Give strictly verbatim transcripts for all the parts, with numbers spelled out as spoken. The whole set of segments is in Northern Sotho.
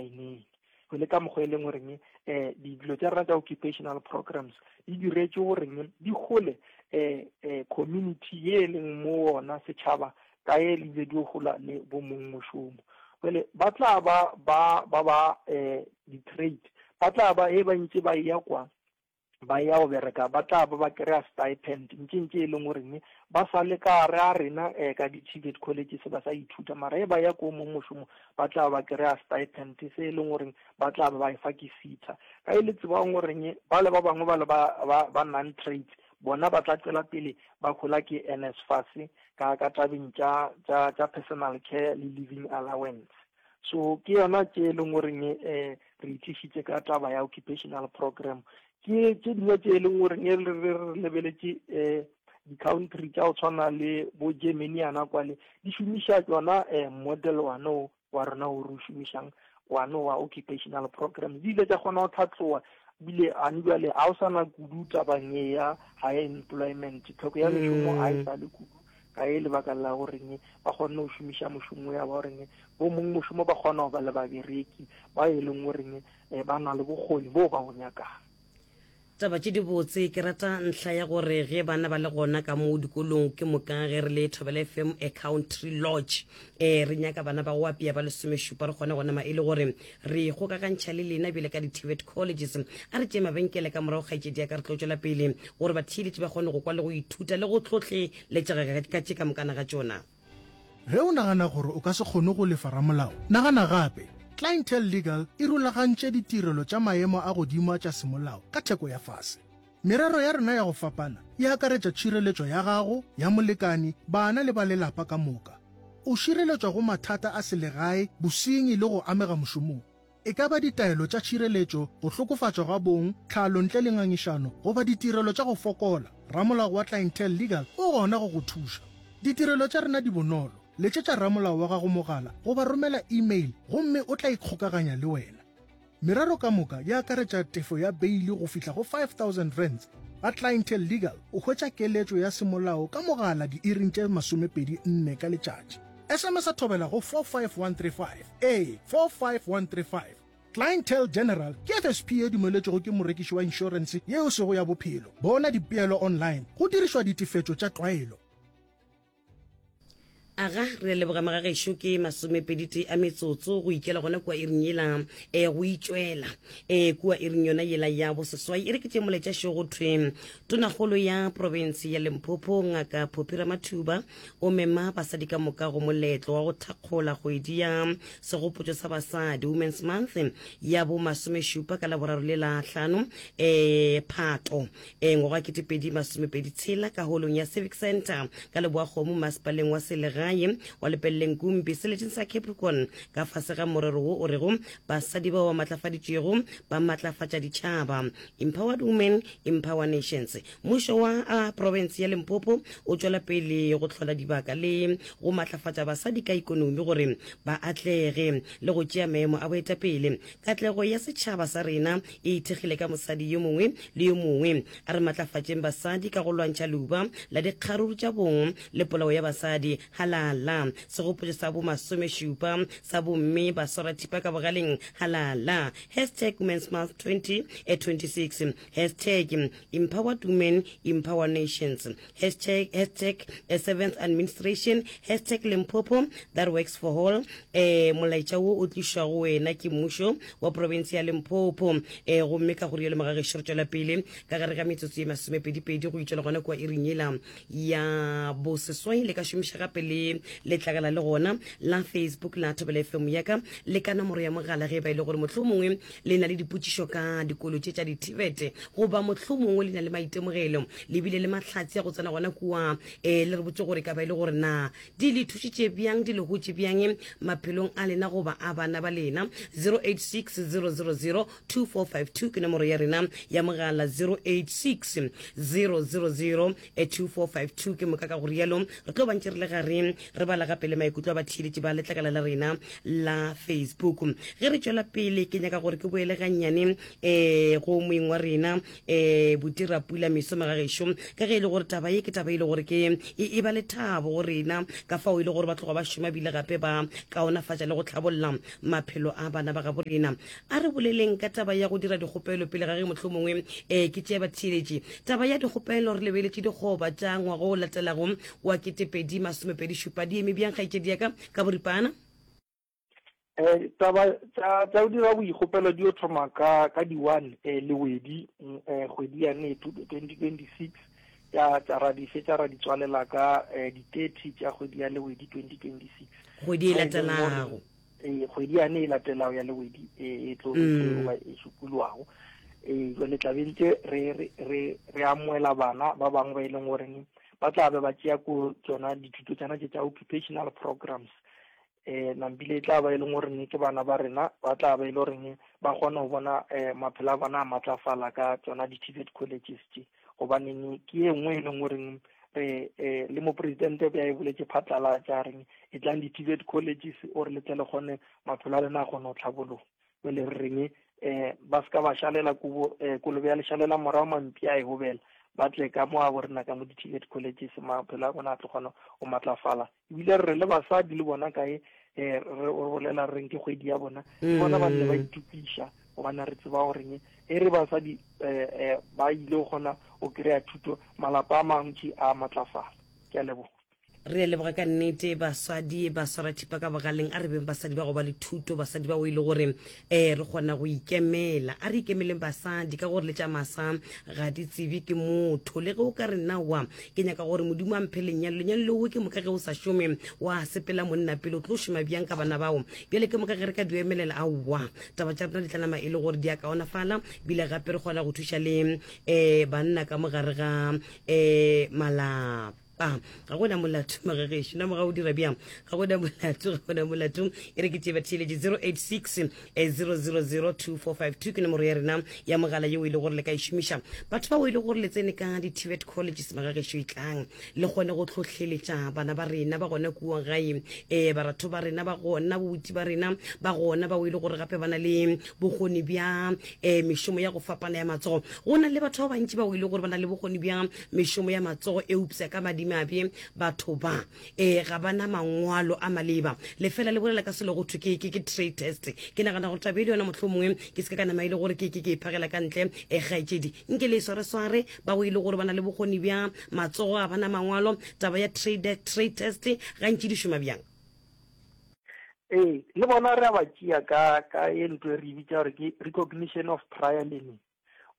di-mineng. Le ka mokgwa e leng goreng um dilo tša rena tša occupational programs di diretše goreng di gole um um community ye e leng mo ona setšhaba ka e le di gola le bo mong mošomo. Jwale ba tla ba ba ba ba um di-trade ba tla ba e ba ntse ba ya kwa ba ya go bereka ba tla ba ba kry-a stipend ntše ntše e leng goreng ba sa le ka gare a rena um ka di-TVET colleges ba sa ithuta, mara e ba ya ko mong mošomo ba tla ba kry-a stipend se e leng goreng ba tla ba ba e fa ke SETA. Ka e le tsebang goreng ba le ba bangwe ba le ba ba ba non trades bona ba tla tswela pele ba gola ke N S F A S ka ka tabeng tša tša tša personal care le living allowance. So ke yona tše e leng goreng um re itlišitše ka taba ya occupational program. Ke tše dingwe tše e leng goreng re re lebeletše um di-country tša go tshwana le bo Germany yana kwale di šomiša tsona um model one o wa rena o re o šomišang one wa occupational program. Di ile tša kgona go tlhatloga bile ane jale ga o sana kudu tabang e ya high employment, tlhoko ya mešomo ga e sa le kudu ka e lebaka la goreng ba kgonne go šomiša mošomo ya ba goreng bo mong mošomo ba kgona go ba le babereki ba e leng goreng um ba na le bokgoni bo ba bo nyakang. Taba tše dibotse. Ke rata ntlha ya gore ge bana ba le gona ka mo dikolong, ke moka ge re le Thobela F M a Country Lodge um re nyaka bana ba go apea ba lesomešupa, re kgone go nama e le gore re kgokagantšha le lena bjale ka di-TVET colleges. A re tšee mabenkele, ka morago kgaetšedi ya ka re tlo tšwela pele gore batheeletši ba kgone go kwa le go ithuta le go tlhotlheletšega ka tše ka mokana ga tšona. Ge o nagana gore o ka se kgone go lefa ramolao, nagana gape. Clientele Legal e rulagantše ditirelo tša maemo a godimo tša semolao ka theko ya fase. Merero ya rena ya go fapana e akaretša tšhireletšo ya gago, ya molekani, bana le ba lelapa ka moka. O šireletšwa go mathata a selegae, bosenyi le go amega mošomong. E ka ba ditaelo tša tšhireletšo, go hlokofatšwa ga bong, tlhalo ntle le ngangišano goba ditirelo tša go fokola, ramolao wa Clientele Legal o gona go go thuša. Ditirelo tša rena di bonolo. Letšetša ramolao wa gago mogala goba romela email gomme o tla ikgokaganya le wena. Merero ka moka e akaretša tefo ya beile go fihla go five thousand rands. Ga Clientele Legal o hwetša keletšo ya semolao ka mogala diiring tše masomepedi nne ka letšatši. S M S a Thobela go four five one three five, ee, four five one three five. Clientele General ke F S P e dumeletšwego ke morekiši wa inšorense yeo sego ya bophelo. Bona dipeelo online go dirišwa ditefetšo tša tlwaelo. Aga, re leboga magagešo. Ke masomepedi a metsotso go ikela gona kua iring yela um go itšwela um kua iring yona yela ya boseswai. E re ke tše moletša go thwe tonagolo ya province ya Limpopo, Ngaka Phophi Ramathuba, o mema basadi ka moka go moletlo wa go thakgola kgwedi ya segopotšo sa basadi, Women's Month ya bo masomešupa, ka laboraro le la hlano um Phato um ngwaga ketepedi masomepedi tshela ka holong ya Civic Center ka Leboakgomo, masepaleng wa selegae wa Lepelleng Kumpi, seleteng sa Capricorn, ka fase ga morero wo o rego basadi bao ba matlafaditšwego ba matlafatša ditšhaba, Empowered Women Empower Nations. Mmušo wa uh, province ya Limpopo o tšwela pele go hlola dibaka le go matlafatša basadi ka ikonomi gore ba atlege le go tšea maemo a boetapele. Katlego ya setšhaba sa rena e ithekgile ka mosadi yo mongwe le yo mongwe. A re matlafatšeng basadi ka go lwantšha leuba la dikgaruru tša bong le polao ya basadi. Halala segopotšo sa bomasomešupa sa bomme ba swarathipa ka bogaleng. Halala hashtag Women's Month twenty twenty-six, hashtag Empowered Women Empower Nations, hashtag, hashtag eh, seventh administration, hashtag Limpopo that works for all. eh molaetša wo o tlišwa go wena ke mmušo wa province ya Limpopo. eh gomme ka go rialo magagešo re tšwela pele ka gare ga metsotso ye masomepedipedi go itšwela gona kua iring yela ya boseswai. Le ka šomiša gape le letlakala le gona la Facebook la Thobela F M yaka le ka nomoro ya mogala ge e ba e le gore mohlho mongwe le na le dipotšišo ka dikolo tše tša di-TVET goba mohlho mongwe le na le maitemogelo le bile le mahlatse ya go tsena gona kua um le re botse gore ka ba e le gore na di le thušitše bjang, di le gotše bjang maphelong a lena goba a bana ba lena. zero eight six zero zero zero two four five two ke nomoro ya rena ya mogala, zero eight six zero zero zero two four five two. Ke moka ka go rialo re tlo bantše re le gare. re bala gape le maikutlo a batheeletši ba letlakala la rena la Facebook. Ge re tšwela pele, ke nyaka gore ke boele gannyane um go moeng wa rena um Botira Pula Meso Magagešo, ka ge e le gore taba ye ke taba e le gore ke e, e ba lethabo go rena, ka fao e le gore ba tloga ba šoma bile gape ba kaonafatša le go tlhabolla maphelo a bana ba gabo rena. A re boleleng ka taba ya go dira dikgopelo pele ga ge mohlomongwe um ke tšea batheeletši. Taba ya dikgopelo re lebeletše dikgoba tša ngwaga o latelago wa ketepedi masomepedi šupa, di eme bjang kgaetšedi ya ka ka boripana? Eh, taba tša tša go dira boikgopelo di yo thoma ka ka di one eh, Lewedi mm, eh, kgwedi yane twenty twenty six tša tša ra di fetša ra di tswalela ka eh, di thirty tša kgwedi ya Lewedi twenty twenty six. Kgwedi e latelago. Eh, kgwedi yane e latelago ya Lewedi e e tlo e tlo ba e šupologago. Eh, jwale tla be ntse re re re re amoela bana ba bangwe ba e leng goreng ba tla be ba tšea ko tsona dithuto tsena tše tša occupational programs. Eh, nampile e tla ba e leng goreng ke bana ba rena ba tla ba e le goreng ba kgona go bona eh, maphelo a bona a matlafala ka tsona di-T V E T colleges tše, gobaneng ke e nngwe e leng goreng re eh, le mopresidente be a e boletše phatlalatša reng e tlang di-T V E T colleges ore le tle le kgone maphelo a lena a kgone go tlhabologa. Jwale re reng eh ba se ka ba šalela kobo eh, kolobe ya lešalela morago mampi a e gobela, ba tle ka mo a bo rena ka mo di-T V E T colleges, maphelo a bona a tlo kgona go matlafala. Ebile re re le basadi le bona kae eh re bolela re reng ke kgwedi ya bona, le bona ba nne ba itokiša, gobane re tseba goreng e re basadi eh, eh, ba ile go kgona go kry-a thuto, malapa a mantši a matlafala. Ke a leboga. Re a leboga ka nnete. Basadi ba swara thipa ka bogaleng. A re beng basadi ba go ba le thuto, basadi ba o e le gore um re kgona go ikemela. A re ikemeleng basadi, ka gore le tša masa ga di tsebe ke motho. Le ge o ka re nawa ke nyaka gore Modimo a mphe lenyalo, lenyalo leo ke moka ge o sa šome wa sepela monna pele, o tlo šoma bjang ka bana bao? Bjale ke moka ge re ka di emelela, aowa, taba tša rena di tla nama e le gore di a kaonafala, bile gape re kgona go thuša le um banna ka mogare ga um malapa. Ga gona molato magagešo na moga o dira bjang, ga gona molato, ga gona molato. E re ke tše batheeletše, zero eight six zero zero zero two four five two ke nomoro ya rena ya mogala yeo e le gore le ka e šomiša. Batho bao e le gore le tsene ka di-T V E T colleges magagešo, e tlang le kgone go tlhohleletša bana ba rena ba gona kua gae, um baratho ba rena ba gona, bobuti ba rena ba gona bao e le gore gape ba na le bokgoni bja um mešomo ya go fapana ya matsogo. Go na le batho ba bantši bao e le gore ba na le bokgoni bja mešomo ya matsogo, eupša ka madimabe batho ba um ga bana mangwalo a maleba. Lefela le bolela ka selo go thwe ke ke ke trade test. Ke nagana gore tabe le yona mohlomongwe ke se ka ka nama e le gore ke ke ke e phagela ka ntle. um kgaetšedi nke le e swaresware ba go e le gore ba na le bokgoni bja matsogo, a bana mangwalo. Taba ya trade trade test gantši di šoma bjang? Ee, le bona re a ba tšea ka ka e ntho e re e bitša gore ke recognition of prior learning.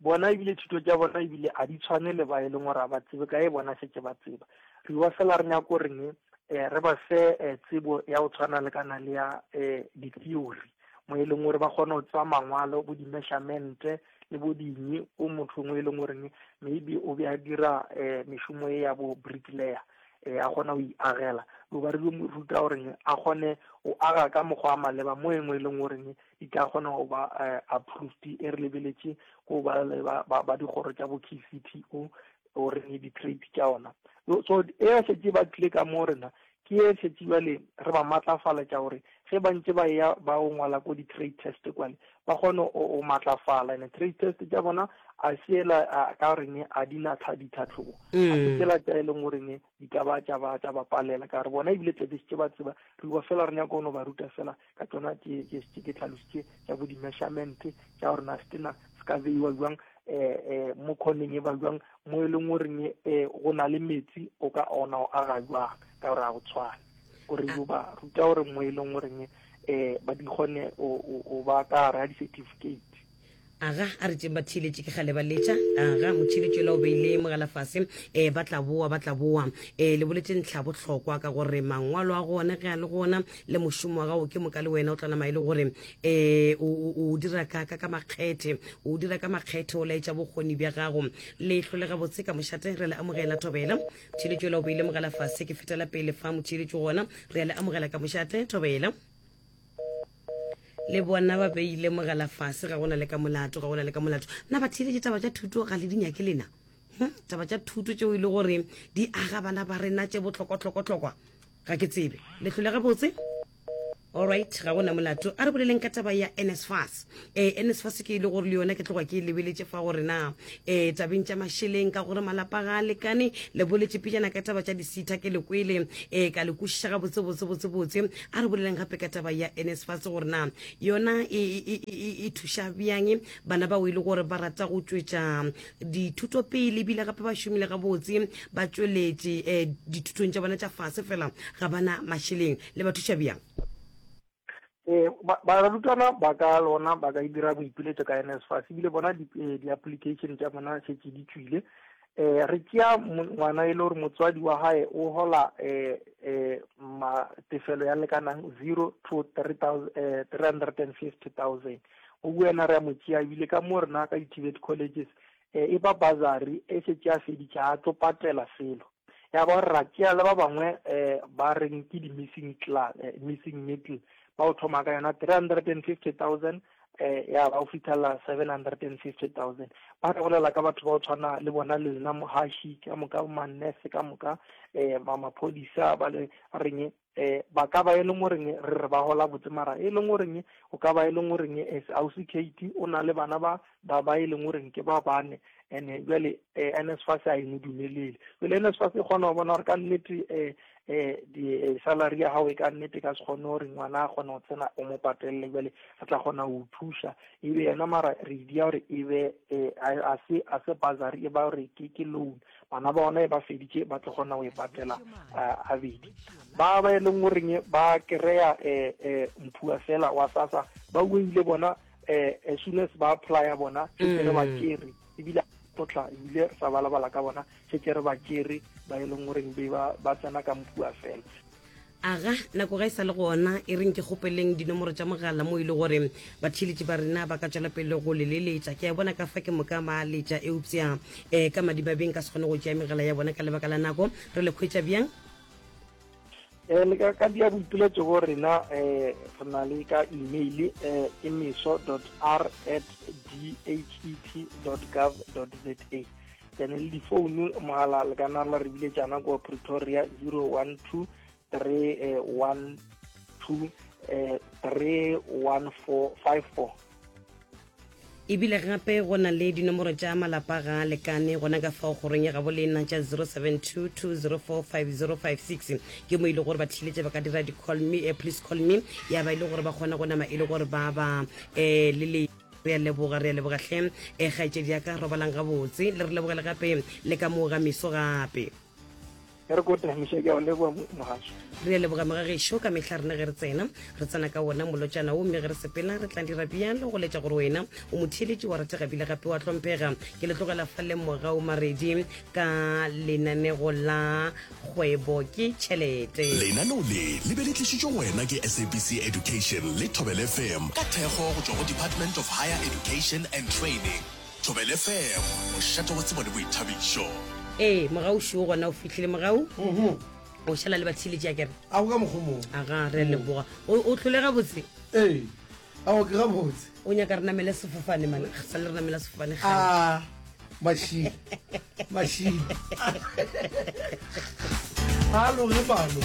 Bona ebile thuto tša bona ebile a di tshwane le ba e leng gore a ba tsebe ka e bona šetše ba tseba. Re ba fela re nyako goreng um re ba fe um tsebo ya go tshwana le kana le ya um di-theory, mo e leng gore ba kgone go tseba mangwalo, bo di-measurement le bo dinyi o motho ngwe e leng goreng maybe o be a dira um mešomo e ya bo bricklayer, um a kgona go iagela. Lo ba re mo ruta goreng a kgone go aga ka mokgwa wa maleba, mo e nngwe e leng goreng di tla kgona go ba um approved, e re lebeletše ko ba le ba ba dikgoro tša bo K C T O gore di-trade tša ona. So e a šetše ba tlile ka mo rena, ke e šetše jale re ba matlafaletša gore ge ba ntše ba ya ba o ngwala ko di-trade test kwale, ba kgone o matlafala. And trade test tša bona a seela ka goreng a di na ditlhatlhobo, a se tsela tša e leng goreng di ka ba tša ba tša ba palela, ka gore bona ebile tlebe šetše ba tseba. Re ba fela re nyaka go no ba ruta fela ka tsona tše tše ke tlhalositše tša bo di-measurement tša gore na setena se ka beiwa jwang um mo kgoneng e ba jwang, mo e leng goreng um go na le metsi o ka ona o aga jwang, ka gore a go tshwane. Gore yo ba ruta gore mo e leng goreng um ba di kgone o ba ka gare ga di-certificate. Aga, a re tšeng batheeletše, ke gale ba letša. Aga, motheeletši ola o beile mogala fase. um ba tla boa, ba tla boa. um le boletse ntlha bohlokwa ka gore mangwalo a gona ge a le gona le mošomo wa gago, ke moka le wena o tla nama e le gore um o dira ka ka ka makgethe, o dira ka makgethe, o laetša bokgoni bja gago. Le hlole gabotse ka mošate, re le amogela. Thobela. Motheeletši ola o beile mogala fase, ke fetela pele fa. Motheeletši gona re a le amogela ka mošate. Thobela. Le bona ba beile mogala fase, ga gona le ka molato, ga gona le ka molato. Nna batheeletše, taba tša thuto ga le di nyake lena? Hm? Taba tša thuto tšeo e le gore di aga bana ba rena tše bohlokwa-hlokwa-hlokwa. Ga ke tsebe le hlole gabotse. Alright, ga gona molato. A re boleleng ka taba ya N S F A S. eh N S F A S ke e le gore le yona ke tloga ke e lebeletše fa gore na eh tabeng tša mašeleng, ka gore malapa ga a lekane. Le boletše pejana ka taba tša disitha, ke le kwele eh ka le kwešiša ga botse botse botse botse. A re boleleng gape ka taba ya N S F A S, gore na yona e, e, e, e, e thuša bjang bana bao e le gore ba rata go tšwetša dithuto pele, ebile gape ba šomile gabotse, ba tšweletše um dithutong tša bona tša fase, fela ga bana mašeleng, le ba thuša bjang? Eh barutwana ba ka lona ba ka dira boipiletšo ka N S F A S, ebile bona di-application tša bona šetše di tšwile. eh re tšea ngwana e le gore motswadi wa hae o hola eh eh ma tefelo ya lekanang zero to three thousand three hundred and fifty thousand, o wena re a mo tšea. Ebile ka mo rena ka di-T V E T colleges eh e ba bursary e šetše a feditše, a tlo patela selo ya ba. Gore ra tšea le ba bangwe eh ba reng ke di-missing class, missing middle, ba o thoma ka yona three hundred and fifty thousand eh ya ba o fitlhela seven hundred and fifty thousand. Ba re bolela ka batho ba o tshwana le bona le nna mohaši ka moka, manese ka moka, eh ba maphodisa, ba le reng eh ba ka ba e leng goreng re re ba gola botse, mara e leng goreng o ka ba e leng goreng ausi Kate o na le bana ba ba ba e leng goreng ke ba bane, and jwale N S F A S a e mo dumelele. Jwale N S F A S e kgona go bona gore ka nnete um eh di salary ya gago e ka nnete ka se kgone gore ngwana a kgone go tsena o mo patelele, jwale re tla kgona go thuša ebe yena, mara re dia gore e be a se a se bursary, e ba gore ke ke loan. Bana ba bona e ba feditše, ba tlo kgona go e patela abedi. Ba ba e leng goreng ba kry-a um mphua fela wa SASSA, ba ile bona um as soon as ba apply-a bona šetse re ba tšere, ebile tlotla ebile re sa balabala ka bona, šetse re ba tšere ba e leng goreng be ba tsena ka mphua fela. Aga, nako ga e sa le gona. E reng ke kgopeleng dinomoro tša mogala mo e le gore batheeletši ba rena ba ka tšwela pele go le leletša. Ke a bona ka fa ke moka ba letša, eupša um ka madibabeng ka se kgone go tšea megala ya bona ka lebaka la nako. Re le kgwetša bjang? um le ka ka dia boipiletšo go rena, um re na le ka email, um ke meso dot r at d h e t dot gov dot z a. Then le difounu, mogala le ka nna la re biletšana ko Pretoria, zero one two three one two three one four five four. Ebile gape go na le dinomoro tša malapa ga a lekane gona ka fao kgorong ya gabo lena tša zero seven two two zero four five zero five six, ke mo e le gore batheeletše ba ka dira di-call me, eh, please call me, ya ba e le gore ba kgona go nama e le gore ba ba um le le. Re a leboga, re a leboga hle, um kgaetšedi ya ka, robalang gabotse, le re lebogele gape le ka moo ga meso gape. Re ko tamiša, ke a o leboga mogašo. Re a leboga mogagešo. Ka mehla rena ge re tsena, re tsena ka wona molotšana wo, mme ge re sepela re tla dira bjalo go letša gore wena o motheeletši wa ratega bile gape wa hlomphega. Ke le tlogela fa le Mogau Maredi ka lenanego la Kgwebo ke Tšhelete. Lenaneo le le be le tlišitšwe go wena ke S A B C Education le Thobel F M ka thekgo go tšwa go Department of Higher Education and Training. Thobel F M, mošate wa tsebo le boithabišo. Ee, mogauši o gona, o fitlhile mogau, o šala le batheeletši a kere. A go ka mokgwa mongwe. Aga, re a leboga, o o tlhole gabotse. Ee, ao ke gabotse. O nyaka re namele sefofane mane, sa le re namela sefofane gale. A mašile mašile a loge palo.